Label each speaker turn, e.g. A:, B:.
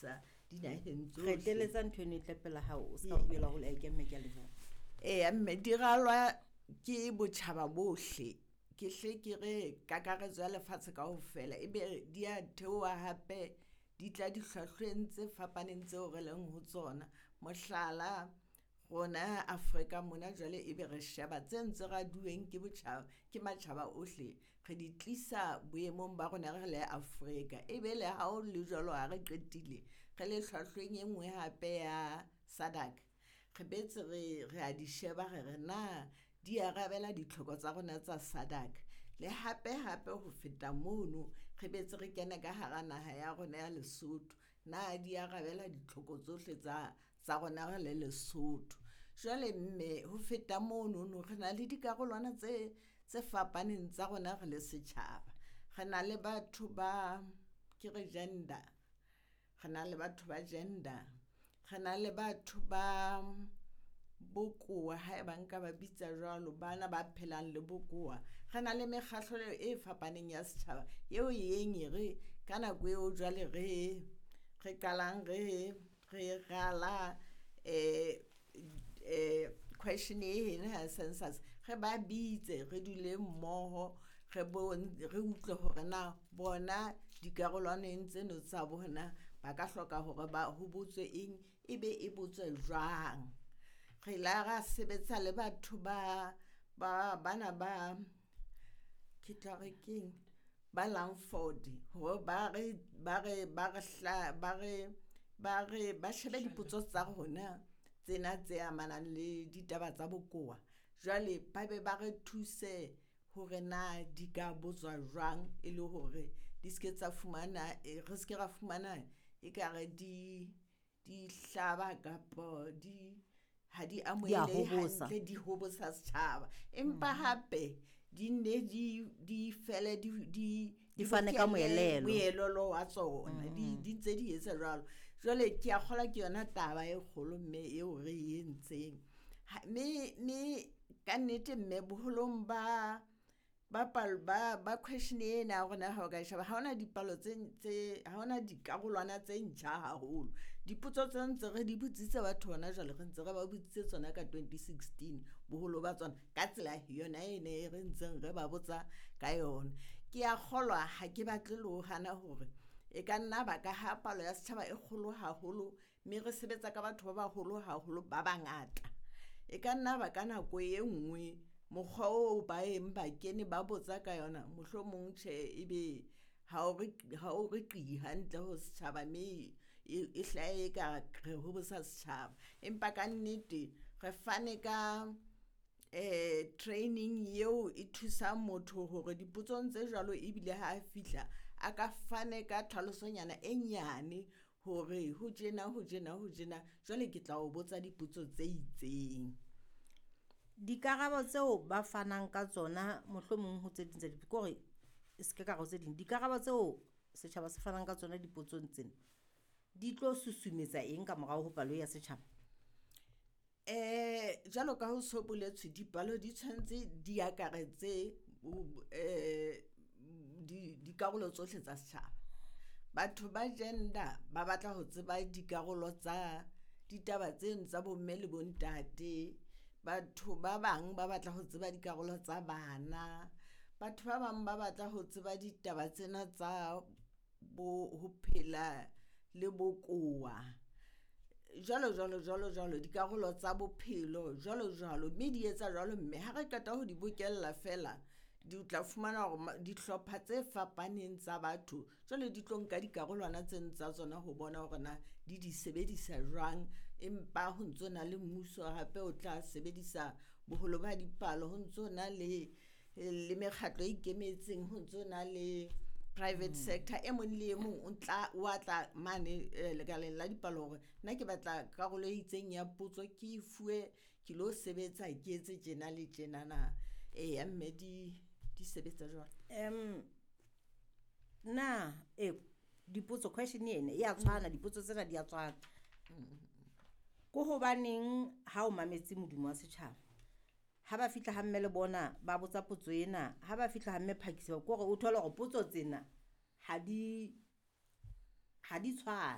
A: fetisisa dinaheng tsohle.
B: Qetelletsa ntho eno e tle pela hao, o ska bela hole ke mme ke a leboha.
A: Eya mme di ralwa ke botjhaba bohle. Ke hle ke re kakaretso ya lefatshe kaofela ebe di a theoha hape di tla dihlwahlweng tse fapaneng tseo re leng ho tsona. Mohlala, rona Afrika mona jwale ebe re sheba tse ntse raduweng ke botjhaba, ke matjhaba ohle, re di tlisa boemong ba rona re le Afrika. Ebe le ha ho le jwalo ha re qetile, re le hlwahlweng e nngwe hape ya SADC, re boetse re a di sheba re re na di arabela ditlhoko tsa rona tsa SADC. Le hape-hape ho feta mono, re boetse re kene ka hara naha ya rona ya Lesotho. Na di arabela ditlhoko tsohle tsa rona re le Lesotho. Jwale mme ho feta monono re na le dikarolwana tse fapaneng tsa rona re le setjhaba. Re na le batho ba, ke re gender, re na le batho ba gender, re na le batho ba bokowa haeba nka ba bitsa jwalo, bana ba phelang le bokowa. Re na le mekgahlelo e fapaneng ya setjhaba eo e yeng e re ka nako eo jwale re qalang re rala question ena ya census, re ba bitse re dule mmoho, re utlwe hore na bona dikarolwaneng tseno tsa bona ba ka hloka hore ba ho botswe eng, ebe e botswe jwang. Re la ra sebetsa le batho ba bana ba ke tla re keng ba Langford hore ba re ba re ba re hla ba re ba re ba shebe dipotso tsa rona tsena tse amanang le ditaba tsa bokowa. Jwale ba be ba re thuse hore na di ka botswa jwang e le hore di ske tsa fumana, re ske ra fumana ekare di hlaba kapa di ha di amohelehe hantle, di hobosa setjhaba. Empa hape di nne di fele di
B: fane ka moelelo.
A: Moelelo wa tsona. Di ntse di etsa jwalo. Jwale ke a kgolwa ke yona taba e kgolo mme eo re e entseng. Mme ka nnete mme boholong ba ba question ena ya rona ha o ka sheba, ha hona dipalo tse ha hona dikarolwana tse ntjha haholo. Dipotso tse ntse re di botsitse batho hona jwale, re ntse re ba botsitse tsona ka 2016 boholo ba tsona ka tsela yona ene e re ntseng re ba botsa ka yona. Ke a kgolwa ha ke batle le ho hana hore e ka nna ba ka ha palo ya setjhaba e kgolo haholo, mme re sebetsa ka batho ba baholo haholo ba bangata. E ka nna ba ka nako e nngwe mokgwa oo ba eng ba kene ba botsa ka yona, mohlomong tjhe ebe ha o re qi hantle ho setjhaba, mme e hlahe eka re hobosa setjhaba. Empa ka nnete re fane ka training eo e thusang motho hore dipotsong tse jwalo ebile ha fihla a ka fane ka tlhalosonyana e nyane hore ho tjena, ho tjena, ho tjena, jwale ke tla o botsa dipotso tse itseng.
B: Dikarabo tseo ba fanang ka tsona mohlomong ho tse ding tsa ke hore e se ke ka re tse ding, dikarabo tseo setjhaba se fanang ka tsona dipotsong tsena di tlo susumetsa eng ka morao ho palo ya setjhaba?
A: Jwalo ka ho so boletswe, dipalo di tshwanetse di akaretse dikarolo tsohle tsa setjhaba. Batho ba gender ba batla ho tseba dikarolo tsa ditaba tseno tsa bomme le bontate. Batho ba bang ba batla ho tseba dikarolo tsa bana. Batho ba bang ba batla ho tseba ditaba tsena tsa bo ho phela le bokowa. Jwalo jwalo jwalo jwalo, dikarolo tsa bophelo jwalo jwalo, mme di etsa jwalo mme ha re qeta ho di bokella feela, di tla fumana hore dihlopha tse fapaneng tsa batho jwale di tlo nka dikarolwana tseno tsa tsona ho bona hore na di di sebedisa jwang. Empa ho ntso na le mmuso hape o tla sebedisa boholo ba dipalo, ho ntso na le mekgatlo e ikemetseng, ho ntso na le private sector. E mong le e mong o tla wa tla mane lekaleng la dipalo hore nna ke batla karolo e itseng ya potso ke e fuwe, ke lo sebetsa ke etse tjena le tjenana. Eya mme di sebetsa jwalo.
B: Na dipotso question ena e a tshwana, dipotso tsena di a tshwana. Ko hobaneng ha o mametse modumo wa setjhaba, ha ba fihla ha mme le bona ba botsa potso ena, ha ba fihla ha mme Phakisa, ke hore o thole hore potso tsena ha di tshwane.